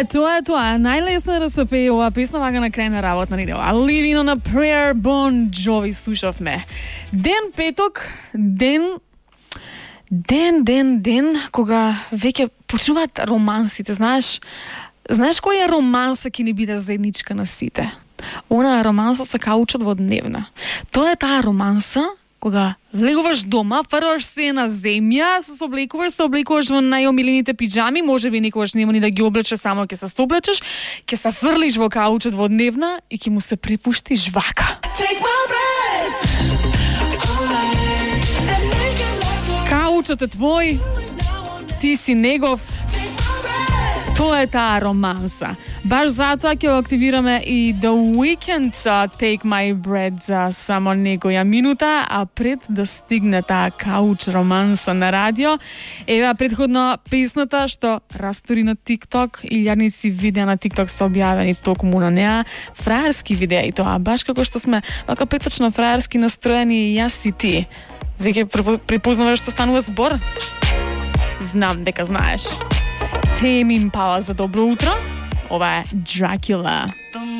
Тоа е. Најлесно е да се пее оваа песна вака на крај на работна недела. Living on a Prayer, Bon Jovi слушавме. Ден петок, ден кога веќе почнуваат романсите, знаеш која романса ќе ни биде заедничка на сите? Онаа романса се каучот во дневна. Тоа е таа романса кога влегуваш дома, фрлаш се на земја, се облекуваш во најомилените пиџами, можеби некогаш нема ни да ги облечеш, само ќе се соблечеш, ќе се фрлиш во каучот во дневна и ќе му се препуштиш вака. Каучот е твој, ти си негов. Тоа е таа романса. Баш затоа ќе активираме и The Weeknd Take My Breath за само некоја минута, а пред да стигне таа кауч романса на радио, ева претходно песната што растури на TikTok, илјадници видеа на TikTok се објавени токму на неа, фраерски видеа и тоа, баш како што сме вака преточно фраерски настроени јас и ти. Веќе препознаваш што станува збор? Знам дека знаеш. Tame Impala за добро утро. Ова е Dracula.